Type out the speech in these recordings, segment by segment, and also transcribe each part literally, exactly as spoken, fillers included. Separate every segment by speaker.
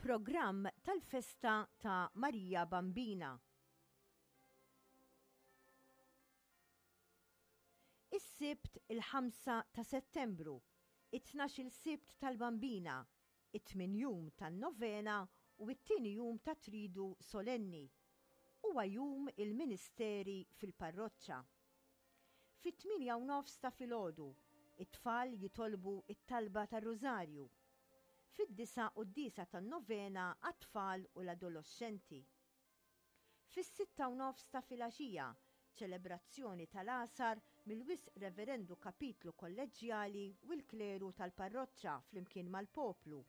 Speaker 1: Programm tal-festa ta' Marija Bambina. Is-Sibt il-ħamsa ta' Settembru, it-tnax-il Sibt tal-Bambina, it-tmien jum tan-novena u t-tieni jum ta' Tridu Solenni. Huwa jum il-ministeri fil-parroċċa. Fit-tmienja u nofs ta' filgħodu, it-tfal jitolbu it-talba tar-Rużarju. Fid-disgħa quddiesa tan-novena għat-tfal u l-adoloxxenti. Fis-sitta u nofs ta' filgħaxija, ċelebrazzjoni tal-għasar mill-Wisq Reverendu Kapitlu Kolleġġjali u l-kleru tal-parroċċa flimkien mal-poplu.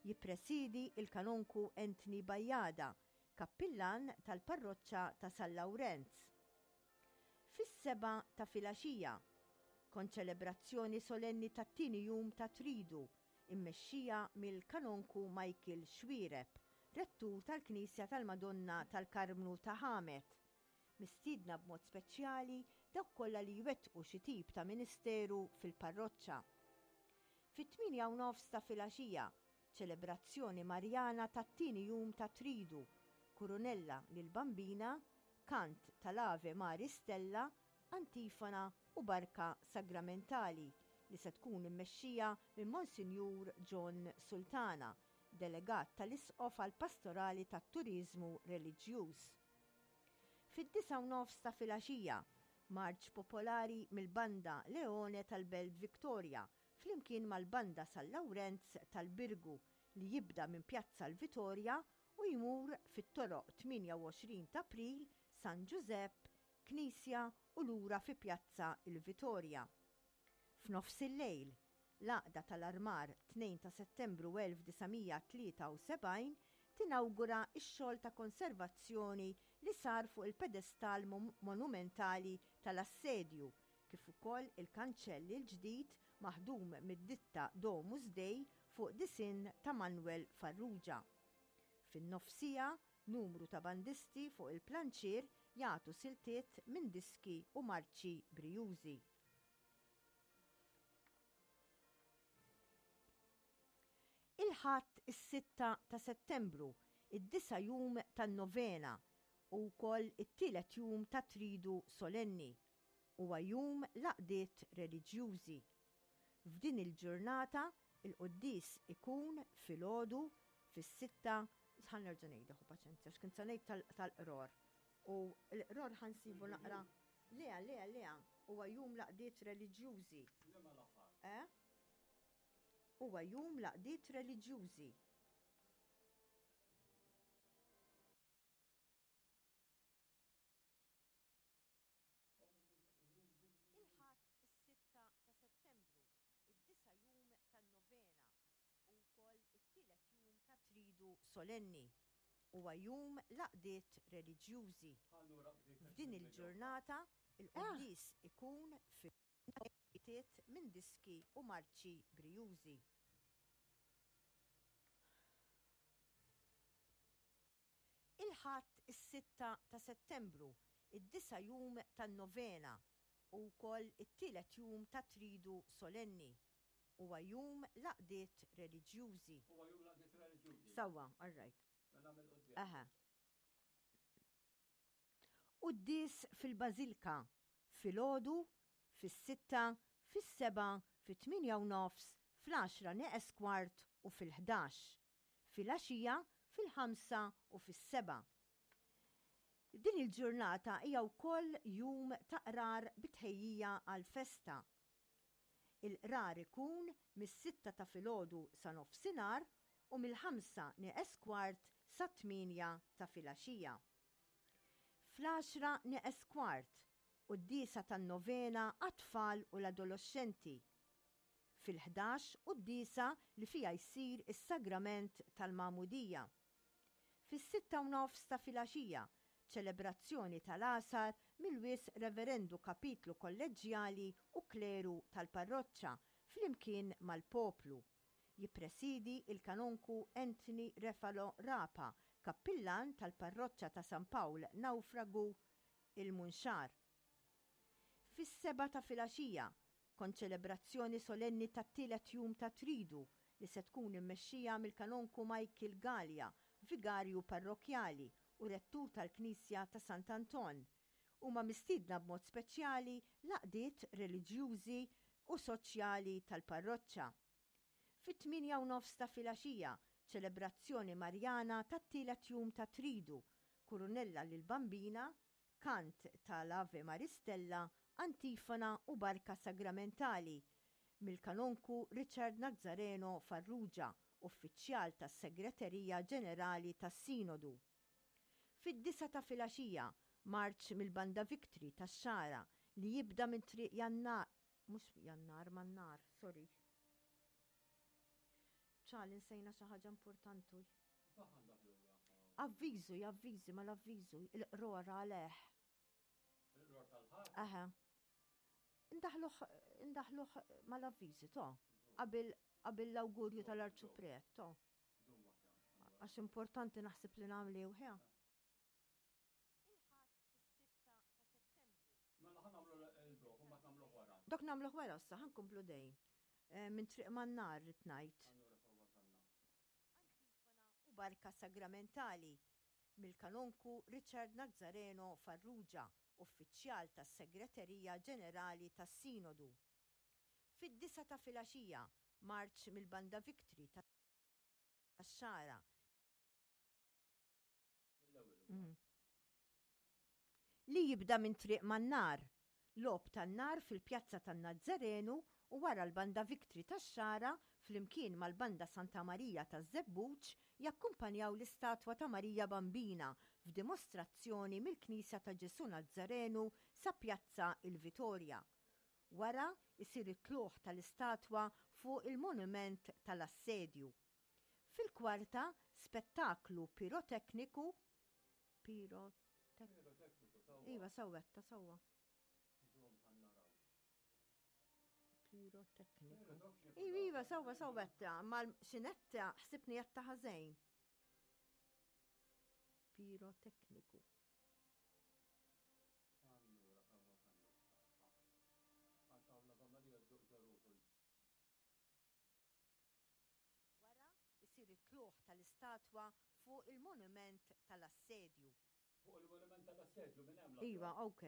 Speaker 1: Jippresidi il-Kanonku Anthony Bajada, kappillan tal-parroċċa ta' San Lawrenz. Fis-sebgħa ta' filgħaxija, konċelebrazzjoni solenni tat-tieni jum ta' Tridu, immexxija mill-Kanonku Michael Xuereb, rettur tal-Knisja tal-Madonna tal-Karmnu ta' Ħamet. Mistiedna b'mod speċjali dawk kollha li jwettqu xi tip ta' ministeru fil-parroċċa. Fit-tmienja u nofs ta' filgħaxija, ċelebrazzjoni Marjana tat-tieni jum ta' Tridu, kurunella lil Bambina, kant tal-Ave Mari Stella, antifona u barka sagramentali li se tkun immexxija minn Monsinjur John Sultana, delegat tal-Isqof għal pastorali tat-Turiżmu Reliġjuż. Fid-disgħa u nofs ta' filgħaxija, marċ popolari mill-Banda Leone tal-Belt Victoria flimkien mal-Banda San Lawrenz tal-Birgu li jibda minn Pjazza l-Vitorja u jmur fit-toroq tmienja u għoxrin ta' April, San Ġużepp, Knisja u lura fi Pjazza il-Vitorja. F'nofs il-lejl, l-Għaqda tal-Armar tnejn ta' Settembru elf disa' mija tlieta u sebgħin tinawgura x-xogħol ta' konservazzjoni li sar fuq il-pedestal monumentali tal-assedju, kif ukoll il-kanċell il-ġdid maħdum mid-ditta Domus Dei fuq disinn ta' Manuel Farrugia. Fin-nofsija, numru ta' bandisti fuq il-planċier jagħtu siltiet minn diski u marċi brijużi. Il-Ħadd is-sitta ta' Settembru, id-disa' jum tan-novena u wkoll it-tielet jum ta' Tridu Solenni, huwa jum l-għaqdiet reliġjużi. F'din il-ġurnata il-quddies ikun filgħodu fis-sitta, ħa nerġa' ngħidha, ħu paċenzja, x'kien se ngħid tal-qror. U l-qror ħansibu naqra. Lea, lea, lea, huwa jum l-għaqdiet reliġjużi. Eh? Huwa jum l-għaqdiet reliġjużi. Il-Ħadd is-sitta ta' Settembru, id-disa' jum tan-novena u wkoll it-tielet jum ta' Tridu Solenni. Huwa jum l-għaqdiet reliġjużi. F'din il-ġurnata il-quddies ikun fi minn diski u marċi brijużi. Il-Ħadd is-sitta ta' Settembru, id-disa' jum tan-novena u wkoll it-tielet jum ta' Tridu Solenni. Huwa jum l-għaqdiet reliġjużi.
Speaker 2: Huwa jum l-għaqdiet reliġjużi.
Speaker 1: Sewwa, all right.
Speaker 2: Mela mill-quddiem.
Speaker 1: Aha. Quddies fil-Bażilka, filgħodu, fis-sitta, fis-sebgħa, fit-tmienja u nofs, fl-għaxra neqes kwart u fil-ħdax. Filgħaxija, fil-ħamsa u fis-sebgħa. Din il-ġurnata hija wkoll jum ta' qrar bitħejjija għall-festa. Il-qrar ikun mis-sitta ta' filgħodu sa nofsinhar u mill-ħamsa neqes kwart sa tmienja ta' filgħaxija. Fl-għaxra neqes kwart, quddiesa tan-novena għat-tfal u l-adoloxxenti. Fil-ħdax quddiesa li fiha jsir is-sagrament tal-Magħmudija. Fis-sitta u nofs ta' filgħaxija, ċelebrazzjoni tal-għasar mill-Wisq Reverendu Kapitlu Kolleġġjali u Kleru tal-Parroċċa flimkien mal-poplu. Jippresidi il-Kanonku Anthony Refalo Rapa, kappillan tal-Parroċċa ta' San Pawl Nawfragu il-Munxar. Fis-sebgħa ta' filgħaxija, konċelebrazzjoni solenni tat-tielet jum ta' Tridu li se tkun immexxija mill-Kanonku Michael Galea, vigarju parrokkjali u rettur tal-Knisja ta' Sant'Anton. Huma mistiedna b'mod speċjali l-għaqdiet reliġjużi u soċjali tal-parroċċa. Fit-tmienja u nofs ta' filgħaxija, ċelebrazzjoni Marjana tat-tielet jum ta' Tridu, kurunella lill-Bambina, kant tal-Ave Maris Stella, antifona u barka sagramentali mill-Kanonku Richard Nazzareno Farrugia, uffiċjal tas-Segreterija Ġenerali tas-Sinodu. Fid-disgħa ta' filgħaxija, marċ mill-Banda Victory tax-Xagħra li jibda minn Triq Jannar, mhux Jannar, Mannar, sorry. Ċal, insejna xi ħaġa importanti. Avviżu, javviżi, mal-avviżu, il-qrora għaleh.
Speaker 2: Il-qror tal-ħadd?
Speaker 1: Aha. Indaħluh, indaħluh mal-avviżi, to. Qabel qabel l-awgurju tal-Arċipriet, to. Għax importanti naħseb li nagħmlu ħja.
Speaker 2: Mela ħa nagħmlu il-blok, u mbagħad nagħmluh wara.
Speaker 1: Dok nagħmluh wara issa, ħa nkomplu dejn. Eh, minn Triq Mannar rrid ngħid. U barka sagramentali mill-Kanonku Richard Nazzareno Farrugia, uffiċjal tas-Segreterija Ġenerali tas-Sinodu. Fid-disgħa ta' filgħaxija, marċ mill-Banda Victory tax-Xagħra. Mm. Li jibda minn Triq Mannar, logħob tan-nar fil-Pjazza tan-Nazzarenu u wara l-Banda Victory tax-Xagħra flimkien mal-Banda Santa Marija taż-Żebbuġ jakkumpanjaw l-istatwa ta' Marija Bambina f'dimostrazzjoni mill-Knisja ta' Ġesu Nazzarenu sa Pjazza il-Vitorja. Wara isir it-tluħ tal-istatwa fuq il-monument tal-assedju. Fil-kwarta, spettaklu pirotekniku pirotekniku. Iva, sewwetta, sewwa. Pirotekniku. Iva, iva, sewwa, sewwetta, ma xinetta ħsibni jatta ħażejn. Pirotekniku. Wara isir it-tluħ tal-istatwa fuq il-monument tal-assedju.
Speaker 2: Fuq il-monument tal-assedju minn hemm.
Speaker 1: Iva, ok.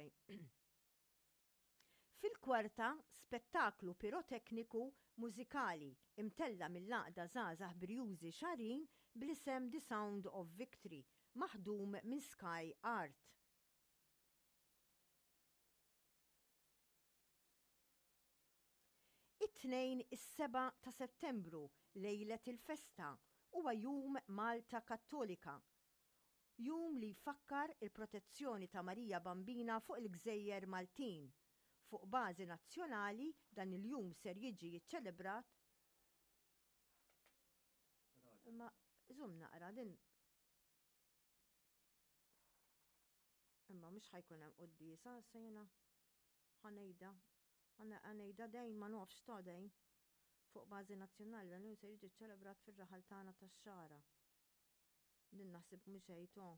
Speaker 1: Fil-kwarta, spettaklu pirotekniku mużikali imtella mill-għaqda Żgħażagħ Brjużi Xarin bl-isem The Sound of Victory, maħdum minn Sky Art. It-Tnejn is-sebgħa ta' Settembru, lejlet il-festa, huwa Jum Malta Kattolika. Jum li jfakkar il-protezzjoni ta' Marija Bambina fuq il-Gżejjer Maltin. Fuq bażi nazzjonali dan il-jum ser jiġi jiċċelebrat. Imma żum naqra din. Imma mhux ħajkun hemm quddiesa, se jiena ħanejda. Ħanejda dejn ma nafx ta' dejn. Fuq bażi nazzjonali dan il-jum ser jiġi ċċelebrat fir-raħal tagħna tax-Xagħra. Din naħseb mhux ejtu.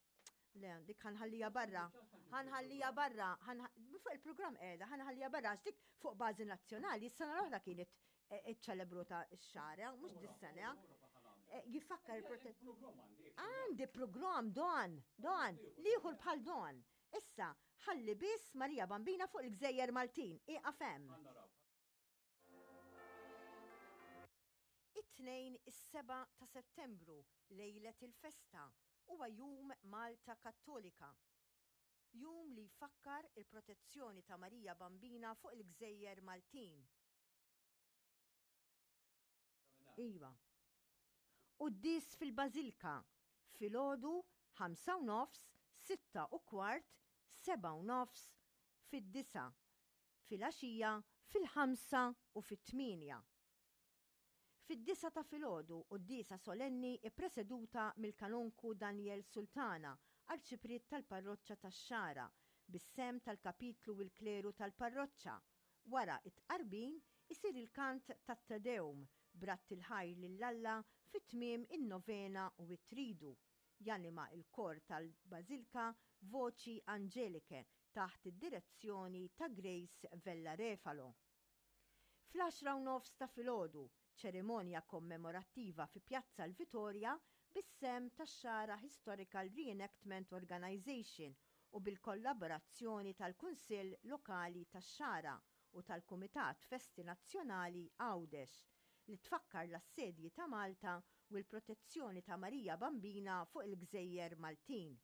Speaker 1: Le, dik ħanħallija barra. Ħanħallija barra. Fuq il-programm qiegħda, ħanħallija barra għax dik fuq bażi nazzjonali s-sena l-oħra kienet iċċelebruta x-Xagħra, mhux dis-sena. Jifakkar il-protezzjoni. Għandi programm don, don, liħur bħal don. Issa, ħalli biss Marija Bambina fuq il-Gżejjer Maltin, ieqaf hemm. It-Tnejn is-sebgħa ta' Settembru, lejlet il-festa, huwa Jum Malta Kattolika. Jum li jfakkar il-protezzjoni ta' Marija Bambina fuq il-Gżejjer Maltin. Iva. Quddies fil-Bażilka, filgħodu ħamsa u nofs, sitta u kwart, seba' u nofs, fid-disgħa, filgħaxija, fil-ħamsa u fit-tmienja. Fid-disgħa ta' filgħodu quddiesa solenni ppreseduta mill-Kanonku Daniel Sultana, Arċipriet tal-Parroċċa tax-Xagħra, bis-sehem tal-Kapitlu u l-Kleru tal-Parroċċa. Wara t-tqarbin isir il-kant tat-Te Deum b'radd il-ħajr lil Alla fi tmiem in-novena u t-tridu. Janima l-kor tal-Bażilka Voci Angeliche taħt id-direzzjoni ta' Grace Vella Refalo. Fl-għaxra u nofs ta' filgħodu, Ċerimonja kommemorattiva fi Pjazza l-Vitorja bis-sehem tax-Xagħra Historical Reenactment Organization u bil-kollaborazzjoni tal-Kunsill Lokali tax-Xagħra u tal-Kumitat Festi Nazzjonali Għawdex li tfakkar l-assedji ta' Malta u l-protezzjoni ta' Marija Bambina fuq il-Gżejjer Maltin.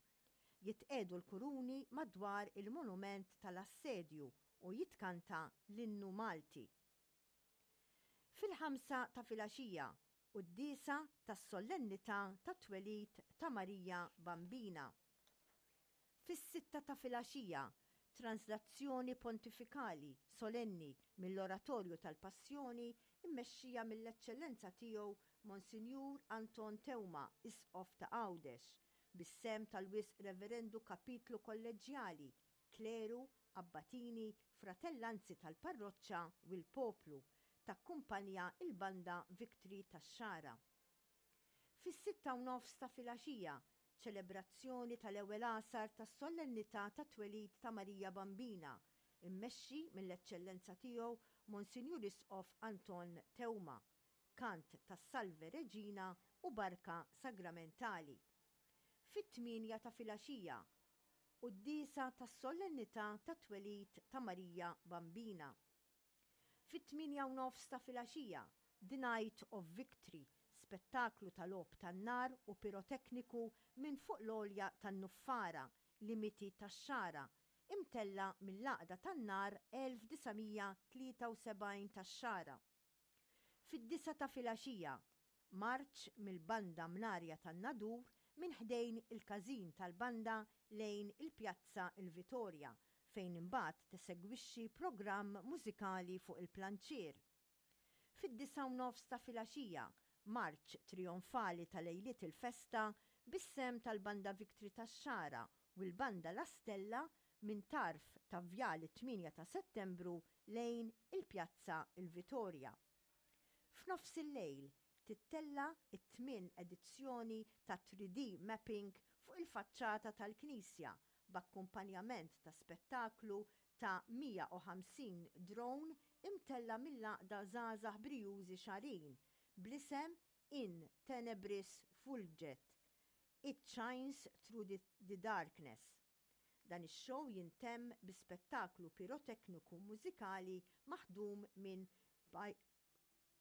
Speaker 1: Jitqiegħdu l-kuruni madwar il-monument tal-assedju u jitkanta l-innu Malti. Fil-ħamsa ta' filgħaxija, quddiesa tas-solennità tat-twelid ta' Marija Bambina. Fis-sitta ta' filgħaxija, translazzjoni pontifikali solenni mill-Oratorju tal-Passjoni immexxija mill-Eċċellenza Tiegħu Monsinjur Anton Teuma, Isqof ta' Għawdex, bis-sehem tal-Wisq Reverendu Kapitlu Kolleġġjali, kleru, abbatini, fratellanzi tal-parroċċa u l-poplu, takkumpanja l-Banda Victory tax-Xagħra. Fis-sitta u nofs ta' filgħaxija, ċelebrazzjoni tal-ewwel għasar tas-Solennità tat-Twelid ta' Marija Bambina, immexxi mill-Eċċellenza Tiegħu Monsinjur Isqof Anton Teuma, kant tas-Salve Regina u barka sagramentali. Fit-tmienja ta' filgħaxija, quddiesa tas-Solennità tat-Twelid ta' Marija Bambina. Fit-tmienja u nofs ta' filgħaxija, The Night of Victory, spettaklu ta' logħob tan-nar u pirotekniku minn fuq l-għolja tan-Nuffara, limiti tax-Xagħra, imtella' mill-Għaqda tan-Nar elf disa' mija tlieta u sebgħin tax-Xagħra. Fid-disgħa ta' filgħaxija, marċ mill-Banda Mnarja tan-Nadur minn ħdejn il-każin tal-banda lejn il-Pjazza il-Vitorja fejn imbagħad tesegwixxi programm mużikali fuq il-planċier. Fid-disgħa u nofs ta' filgħaxija, marċ trijonfali ta' lejliet il-festa bis-sehem tal-Banda Victory tax-Xagħra u l-Banda La Stella minn tarf ta' Vjal it-tmienja ta' Settembru lejn il-Pjazza il-Vitorja. F'nofs il-lejl tittella' t-tmien edizzjoni ta' three D Mapping fuq il-faċċata tal-Knisja b'akkumpanjament ta' spettaklu ta' mija u ħamsin drone imtella' mill-Għaqda Żgħażagħ Brijużi Xagħrin bl-isem In Tenebris Fulget, It Shines Through the, the Darkness. Dan ix-show jintemm bi spettaklu pirotekniku mużikali maħdum minn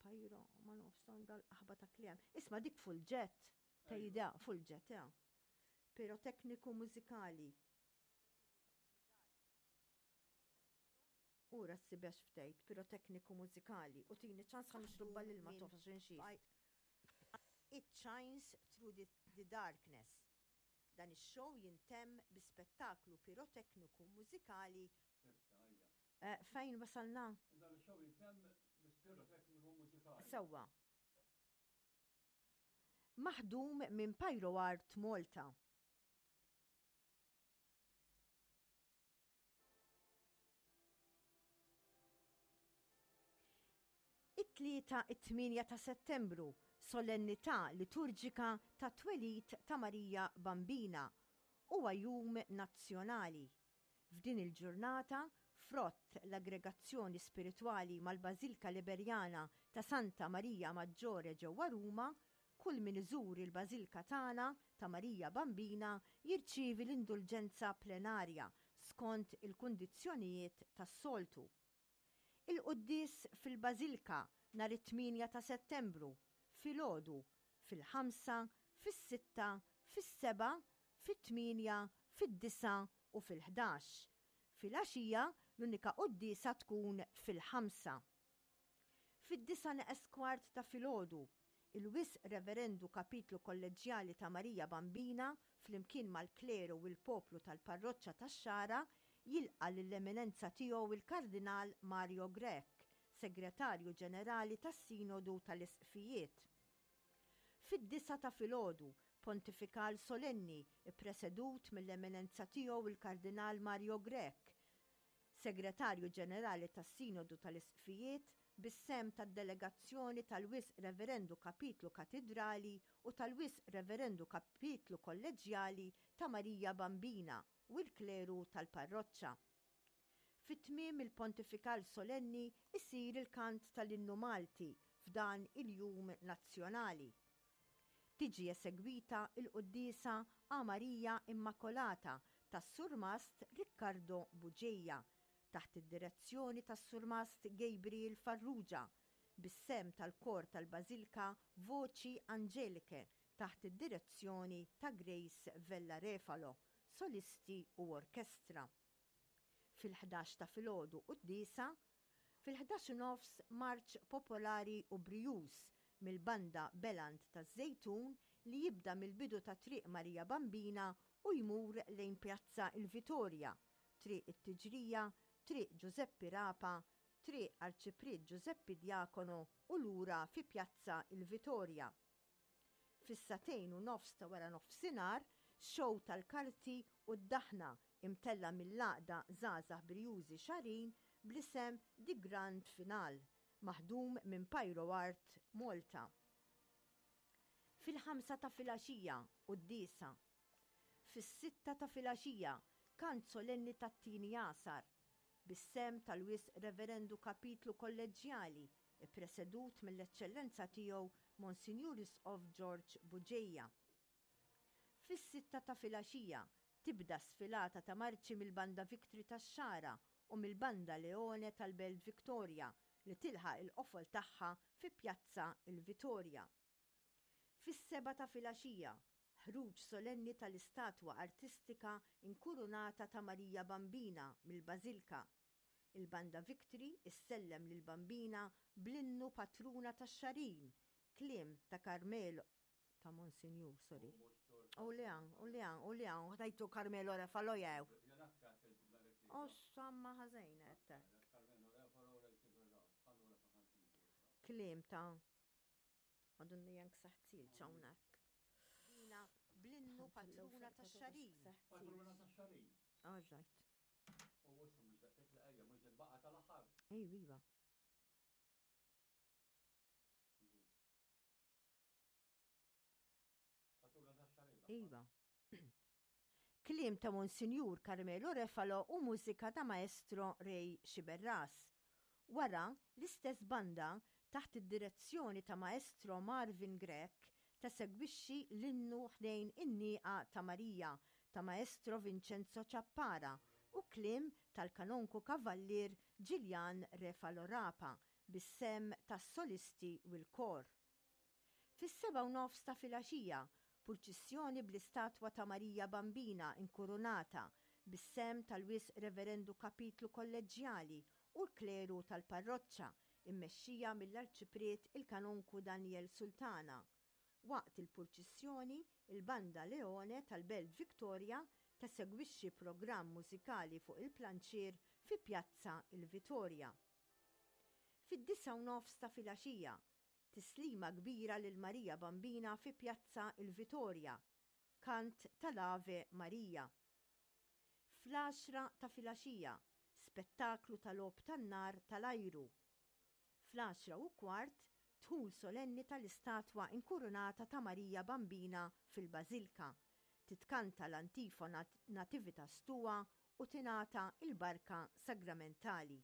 Speaker 1: Pyro, ma nafx dal-aħba ta' kliem. Isma' dik Fulget, tgħidha Fulget, ja. Pirotekniku mużikali. Ura s-sibex ftejt, pirotekniku mużikali. U tini ċans ħa nixrubba l-ilma tof għax inxif. It shines through the, the darkness. Dan ix-show jintemm bi spettaklu pirotekniku mużikali. Eh, fejn wasalna?
Speaker 2: Dan ix-show jintemm bi pirotekniku mużikali.
Speaker 1: Sewwa. Maħdum minn Pyro Art Malta. It-tlieta it-tmienja ta' Settembru, solennità liturġika ta' twelid ta' Marija Bambina, huwa jum nazzjonali. F'din il-ġurnata, frott l-aggregazzjoni spiritwali mal-Bażilka Liberjana ta' Santa Marija Maggiore ġewwa Ruma, kull min iżur il-Bażilka tagħna ta' Marija Bambina jirċievi l-indulġenza plenarja skont il-kundizzjonijiet tas-soltu. Il-quddies fil-Bażilka nhar it-tmienja ta' Settembru, filgħodu, fil-ħamsa, fis-sitta, fis-sebgħa, fit-tmienja, fid-disgħa u fil-ħdax. Filgħaxija l-unika quddiesa tkun fil-ħamsa. Fid-disgħa neqes kwart ta' filgħodu, il-Wisq Reverendu Kapitlu Kolleġġjali ta' Marija Bambina flimkien mal-kleru u l-poplu tal-parroċċa tax-Xagħra jilqa' lill-Eminenza Tiegħu il-Kardinal Mario Grech, Segretarju Ġenerali tas-Sinodu tal-Isqfijiet. Fid-disgħa ta' filgħodu, pontifikal solenni ppresedut mill-Eminenza Tiegħu il-Kardinal Mario Grech, Segretarju Ġenerali tas-Sinodu tal-Isqfijiet, bis-sehem tad-delegazzjoni tal-Wisq Reverendu Kapitlu Katidrali u tal-Wisq Reverendu Kapitlu Kolleġġjali ta' Marija Bambina u l-kleru tal-parroċċa. Fi tmiem il-pontifikal solenni isir il-kant tal-innu Malti f'dan il-jum nazzjonali. Tiġi esegwita il-quddiesa A Marija Immacolata tas-Surmast Riccardo Bugeja taħt id-direzzjoni tas-Surmast Gabriel Farrugia bis-sehem tal-kor tal-Bażilka Voci Angeliche taħt id-direzzjoni ta' Grace Vella Refalo, solisti u orkestra. Fil-ħdax ta' filgħodu quddiesa, fil-ħdax u nofs marċ popolari u brijuż mill-banda Beland taż-Żejtun li jibda mill-bidu ta' Triq Marija Bambina u jmur lejn Pjazza il-Vitorja, Triq it-Tiġrija, Triq Ġużeppi Rapa, Triq Arċipriet Ġużeppi Diacono u lura fi Pjazza il-Vitorja. Fis-sagħtejn u nofs ta' wara nofsinhar, show tal-karti u d-daħna imtella' mill-Għaqda Żgħażagħ Brijużi Xagħrin bl-isem The Grand Final, maħdum minn Pyro Art Malta. Fil-ħamsa ta' filgħaxija, quddiesa. Fis-sitta ta' filgħaxija, kant solenni tat-tieni għasar, bis-sehem tal-Wisq Reverendu Kapitlu Kolleġġjali, ippresedut mill-Eċċellenza Tiegħu Monsinjur Isqof George Bugeja. Fis-sitta ta' filgħaxija, tibda sfilata ta' marċi mill-Banda Victory tax-Xagħra u mill-Banda Leone tal-Belt Victoria li tilħaq il-qofol tagħha fi Pjazza il-Vitorja. Fis-sebgħa ta' filgħaxija, ħruġ solenni tal-istatwa artistika inkurunata ta' Marija Bambina mill-Bażilka. Il-Banda Victory issellem lill-Bambina bl-innu Patruna tax-Xagħrin, kliem ta' Carmelo ta' Monsinjur, sorry. U li għan, u li għan, u li għan, ħdajtu Carmelo Refalo jew. O samma ħażejna għettek. Kliem ta' Madonna jank saħtil ċawnak. Bina bl-innu Patruna tax-Xagħrin.
Speaker 2: Patruna tax-Xagħrin.
Speaker 1: All right.
Speaker 2: U issa mhux daqshekk li ejja mhux il-baqa tal-aħħar.
Speaker 1: Ejw iva.
Speaker 2: Patruna tax-Xagħrin.
Speaker 1: Iva. Kliem ta' Monsinjur Carmelo Refalo u mużika ta' Maestro Ray Sciberras. Wara, l-istess banda taħt id-direzzjoni ta' Maestro Marvin Grech tesegwixxi l-innu ħdejn in-Nieqa ta' Marija ta' Maestro Vincenzo Ciappara u kliem tal-Kanonku Kavallier Gillian Refalo Rapa bis-sehem tas-solisti u l-kor. Fis-sebgħa u nofs ta' filgħaxija, purċissjoni bl-istatwa ta' Marija Bambina inkurunata bis-sehem tal-Wisq Reverendu Kapitlu Kolleġġjali u l-kleru tal-parroċċa immexxija mill-Arċipriet il-Kanonku Daniel Sultana. Waqt il-purċissjoni, il-Banda Leone tal-Belt Victoria tesegwixxi programm mużikali fuq il-planċier fi Pjazza il-Vitorja. Fid-disgħa u nofs ta' filgħaxija, tislima kbira lil Marija Bambina fi Pjazza il-Vitorja, kant tal-Ave Maria. Fl-għaxra ta' filgħaxija, spettaklu tal-logħob tan-nar tal-ajru. Fl-għaxra u kwart, dħul solenni tal-istatwa inkurunata ta' Marija Bambina fil-Bażilka, titkanta l-antifona Nativitas Tua u tingħata il-barka sagramentali.